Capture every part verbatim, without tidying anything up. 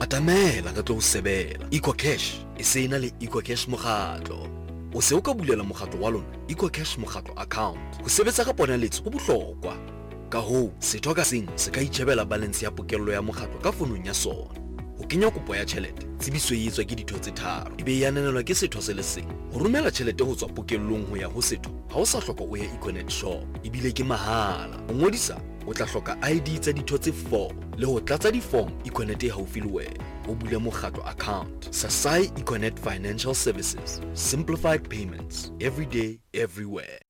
Atamela re tlo o sebela. EcoCash e se na le EcoCash mokgatlo. O se o ka bulela mokgatlo wa lona EcoCash mokgatlo account. Ho sebetsa ka ponaletso ho bohlokwa. Ka hoo, setho ka seng se ka itjhebela balance ya pokello ya mokgatlo ka fonong ya sona. Ho kenya kopo ya tjhelete, tsebiso e etswa ke ditho tse tharo, e be e ananelwa ke setho se le seng. Ho romela tjhelete ho tswa pokellong ho ya ho setho, ha o sa hloka o ye Econet shop, ebile ke mahala. Ho ngodisa, o tla hloka I D tsa ditho tse four le ho tlatsa di-form Econet e haufi le wena. O bule mokgatlo account. Sasai Econet Financial Services. Simplified payments. Every day, everywhere.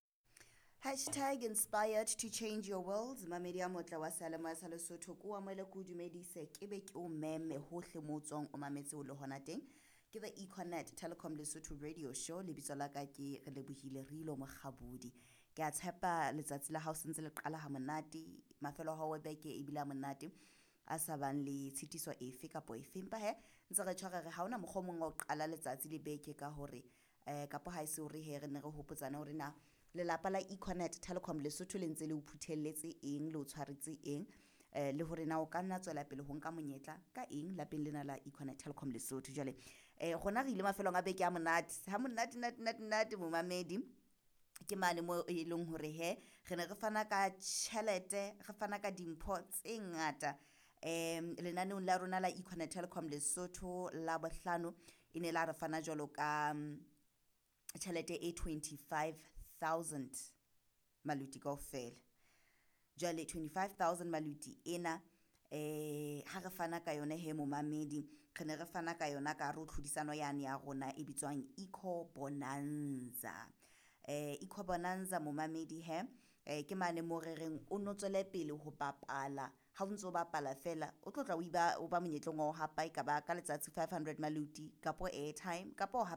Hashtag inspired to change your world. Mamedi a motla wa seyalemoya sa Lesotho, ko amohele, ko o dumedise, ke be ke o meme hohle mo o tswang, o mametse o le hona teng. Ke the Econet Telecom Lesotho radio show. Lebitso la ka ke Re Lebohile Rilo Mokgabodi. Ke a tshepa letsatsi la hao sentse le qala ha monate, mafelo a hao a beke ebile a monate, a sa bang le tshitiso efe kapo efe. Empa he ntse re tshware re ha hona mokgwa o mong wa ho qala letsatsi le beke ka hore um kapo ha e se hore he re ne re hopotsane hore na lelapa la Econet Telecom Lesotho le ntse le o phuthelletse eng, le o tshwaretse eng, um le hore na o ka nna tswela pele ho nka monyetla ka eng lapeng lena la Econet Telecom Lesotho. Jwale um rona re ile mafelong a beke a monate ha monate nate nate nate, momamedi. Ke mane mo e leng hore he re ne re fana ka tjhelete, re fana ka dimpho tse ngata um lenaneong la rona la Econet Telecom Lesotho. La bohlano e ne la re fana jwalo ka mm, tjhelete e twenty-five thousand maluti kaofela. Jwale twenty-five thousand maluti ena, eh ha re fana ka yona he, momamedi, re ne re fana ka yona ka hare ho tlhodisano yane ya rona e bitswang Eco Bonanza. eh Eco Bonanza, momamedi, he eh ke mane mo re reng o no tswele pele ho bapala. Ha o ntso o bapala fela, o tlo tla o iba o ba monyetleng wa ho hapa, e ka ba ka letsatsi five hundred maluti kapo airtime kapo ho hapa.